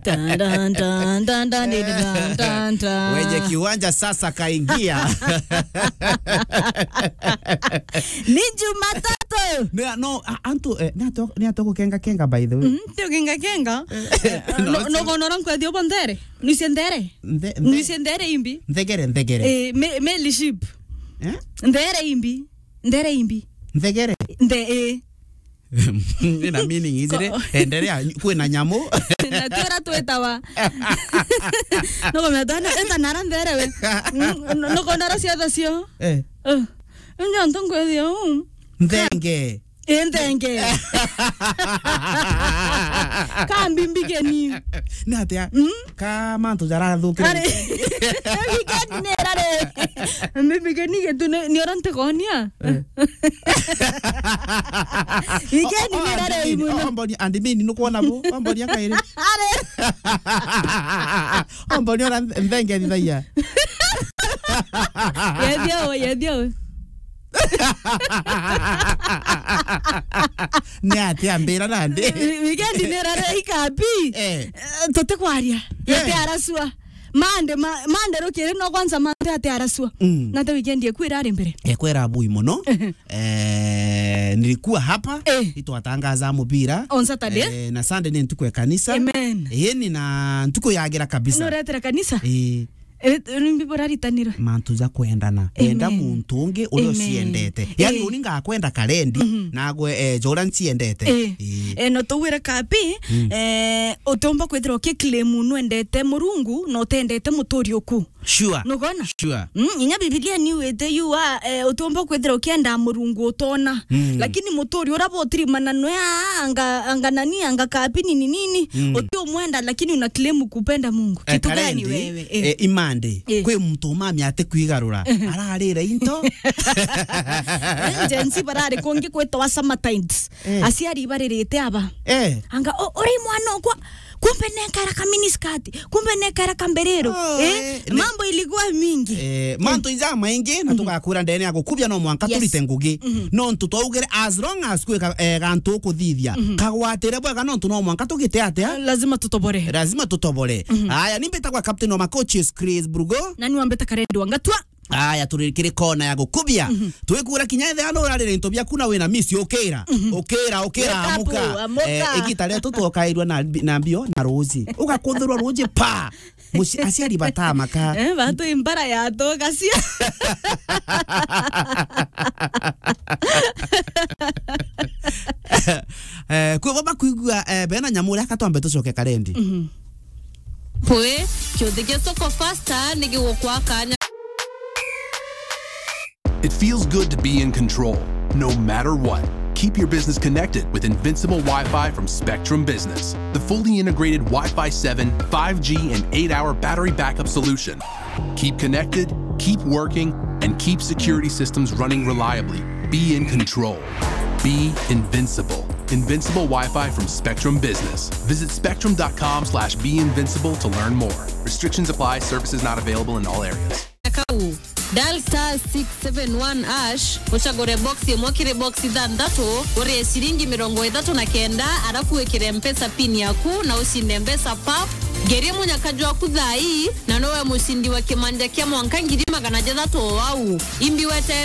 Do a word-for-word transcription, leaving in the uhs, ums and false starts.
Tan, tan, tan, tan, tan, di, di, tan, tan, tan. Wenye kiwanja sasa kaingia. Ni Jumatatu. Ne, no, a-, antu, eh, ni atu, ni atu gukenga kenga, by the way. Mhm, ti ukenga kenga. Eh, no, no, no, no, no, nkwethio bo nthere. Nuise nthere. Nthe-, nthe-, nuise nthere imbi. Nthegere, nthegere. Eh, me-, meli ship. Eh? Nthere imbi. Nthere imbi. Nthegere. Nthe, eh. Ina meaning ijiri. Ko- Endelea, kwina nyamu. Na twira twitawa. Nukumenya twana, eta nara nthere we. Mm, no-, nukonora ciothe cio. Eh. Eh. Nyo ntu nkwithio uu. Nthenge. Ii nthenge. Ka mbimbigeni. Ni atia? Mm? Ka mantu jarathukire. Ari. Weekend ni irari. Mbimbigeni gitu ni, ni ura ntikonia. Eh. Weekend ni irari muno. Omboni, and mean, nukwona bu? Omboni akairi. Ari. Omboni ura nthenge thithagia. Yethia we, yethia we. Ni atia mbira nandi? Wi-, weekend ni irari ikapi. Eh. Eh, tutikwaria. Eh. Yete arasua. Mande, ma-, mande rukiri no kwanza mande ate arasua. Mm. Na te weekend yeku irari mbere. Ekwera bui muno. Eh, nilikuwa hapa. Eh. Itwatangaza mubira. On Saturday. Eh, na Sunday ni ntuku ya kanisa. Amen. Ii ni na ntuku yagira kabisa. Nuretera kanisa? Eh. Eh, nimbi buraritanirwe? Mantu ja kwendana. Amen. Enda muntu ungi uria uciendete. Yani, eh, uni ngakwenda karendi, mhm, nagwe, eh, ja uria nciendete. Eh. Eh. Eh, no tugwire kapi, mm, eh, utiumba kwithirwa ukiclaim nwendete Murungu na utendete muturi uku. Sure. Nugona? Sure. Mm, inya Bibilia ni iwite yu wa, eh, utiumba kwithirwa ukienda Murungu utona. Mm. Lakini muturi uria butirimana nwe aa, anga, anga nani, anga kapi nini nini, mm, uti umwenda, lakini una claim kupenda Mungu. Eh, kitu gani karendi, wewe? Eh. Eh, imande. Eh. Kwi muntu umami ati kwigarura. Eh. Ararire into. Gen Z barari kungi kwitwa summer times. Eh. Aciari baririte aba. Eh. Anga, "O-, uri mwana okwa, kumbe nekara ka miniskirt, kumbe nekara ka mbiriro." Oh, eh? Eh, ne- Mambo ilikuwa mingi. Eh, mm, mantu ija maingi, na, mhm, tugakwira ndene ya gukubia no mwanka, yes, turite ngugi. Mhm. Nontu twaugire as long as kwi ka-, eh, gantu ukuthithia, mhm, kagwatire bwega nontu no mwanka tugite atia? Lazima tutobore. Lazima tutobore. Mhm. Aya, ni mbitagwa Captain wa Macoaches, Chris Brugo. Na ni wambita Karendi wa Ngatua. Aya, turi kiri kona ya gukubia. Mhm. Twikura kinya ethira no urarire into biaku na wina miss, ukira. Mhm. Ukira, ukira, wake up, amuka. Amuka. Eh, igita rietu twokairua na mbi-, na mbio na ruji. Ugakuthirwa ruji, pa! Muci-, aciari batamaka. Eh, batu imbara ya tugacia. Eh, kwi bo bakwigua, eh, bena nyamu, reka twambe tucoke Karendi. Mhm. Pwe, kiuthi gia Soko Faster ni gigukwa kanya. It feels good to be in control, no matter what. Keep your business connected with Invincible Wi-Fi from Spectrum Business, the fully integrated Wi-Fi seven, five G, and eight-hour battery backup solution. Keep connected, keep working, and keep security systems running reliably. Be in control. Be invincible. Invincible Wi-Fi from Spectrum Business. Visit spectrum dot com slash be invincible to learn more. Restrictions apply. Services not available in all areas. Kau, dial star six seven one hash, ucagure box imwe kiri box ithanthatu, urie ciringi mirongo ithatu na kenda, arafu wikire Mpesa pin yaku na ucinde mbeca pap. Ngerie munyaka jwaku thaa ii, na nowe mucindi wa kimanja kia mwanka ngiri magana jathatu o au. Imbi wetere